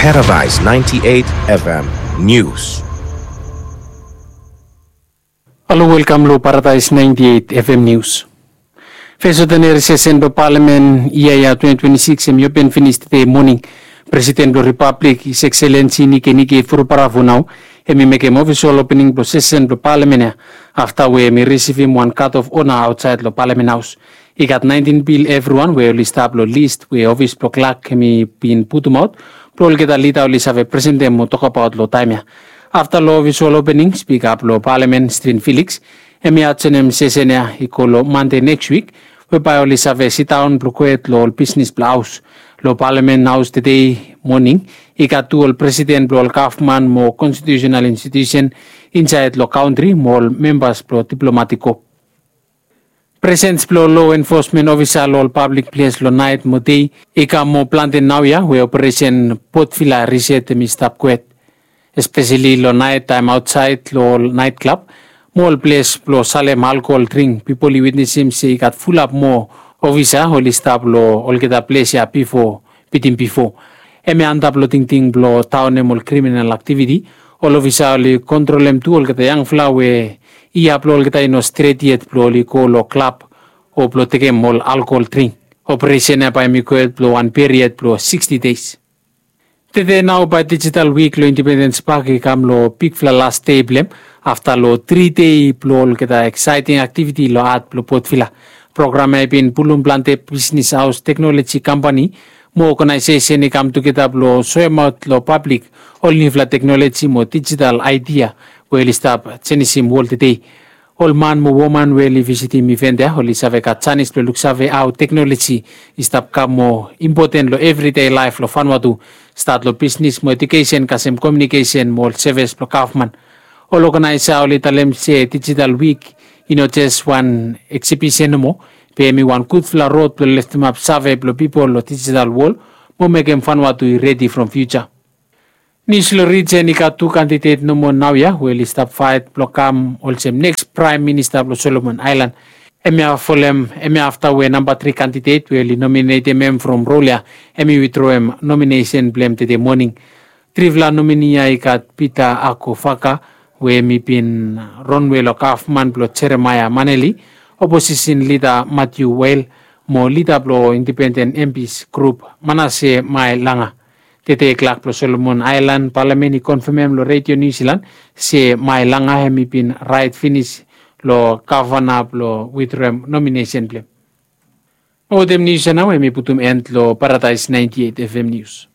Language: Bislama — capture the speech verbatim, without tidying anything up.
Paradise ninety-eight F M News. Halo, welkam long Paradise ninety-eight F M News. Fes odineri sesen blong palamen yia ya twenty twenty-six hem i open finis tede moning. Presiden blong ripablik, His Excellency Nikenike Vurobaravu, nao hem i mekem ofisol opening blong sesen blong palamen ya, afta we hem i risivim wan guard of honour aotsaed long palamen haos. I gat naentin bil evriwan we oli stap long lis we ofis blong klak hem i bin putumaot blong olgeta lida oli save presentem mo tokbaot long taem ya. Afta long ofisol opening, spika blong palamen, Stephen Felix, hem i adjonem sesen ya i go long Mande neks wik, we bae oli save sidaon blong kwet long ol bisnes blong haos. Long palamen haos tede moning i gat tu ol presiden blong ol gavman mo konstitiusenal institiusen insaed long kantri mo ol membas blong diplomatik kop. Presens blong lo enfosmen ofisa long ol pablik ples long naet mo dei i kam moa plante naoia we operesen Port Vila Reset hem i stap kwet, espeseli long naet taem aotsaed long ol naet klab mo ol ples blong salem alkohol dring. Pipol i witnesim se i gat fulap moa ofisa oli stap long olgeta ples ya bifo, bitim bifo. Hem i antap long tingting blong taonem ol kriminal aktiviti. Ol ofisa oli kontrolem tu olgeta yangfala we yia blong olgeta i no stret yet blong oli go long klab o blong tekem ol alkohol dring. Operesen ya bae hem i go yet blong wan period blong sixty days. Tede nao bae Digital Week long Independence Park i kam long bigfala las dei blong hem, afta long tri dei blong olgeta eksaeting aktiviti long hat blong Port Vila. Program ya i bin pulum plante bisnes haos, teknoloji kampani mo oganaesesen i kam tugeta blong soemaot long pablik ol niufala teknoloji mo dijital aedia we oli stap jenisim wol tede. Ol man mo woman we oli visitim iven ya oli save gat janis blong luksave hao teknoloji i stap kam moa impoten long evride laef long Vanuatu, stat long bisnes mo ejukesen kasem komiunikesen mo ol sevis blong gavman. Ol oganaesa oli talem se Digital Week i no jes wan eksibisen nomo, be hem i wan gudfala rod blong leftemap save blong pipol long dijital wol mo mekem Vanuatu i redi from fiuja. Nius long rijen, i gat tu kandidet nomo naoia we oli stap faet blong kam olsem neks praem minista blong Solomon Aelan. Hemia folem, hemia afta we namba tri kandidet we oli nominetem hem from rol ya hem i witroem nominesen blong hem tede moning. Trifala nomini ya i gat Peter Akofaka we hem i bin ronwe long gavman blong Jeremaia Maneli, oposisen lida Matthew Weil, mo lida blong independen M Ps grup, Manase Maelanga. Tede klak blong Solomon Aelan palamen i konfemem long Redio Niu Silan se Maelanga hem i bin raet finis long gavana blong witroem nominesen blong hem. Mo wetem nius ya nao hem i putum en long Paradise ninety-eight F M News.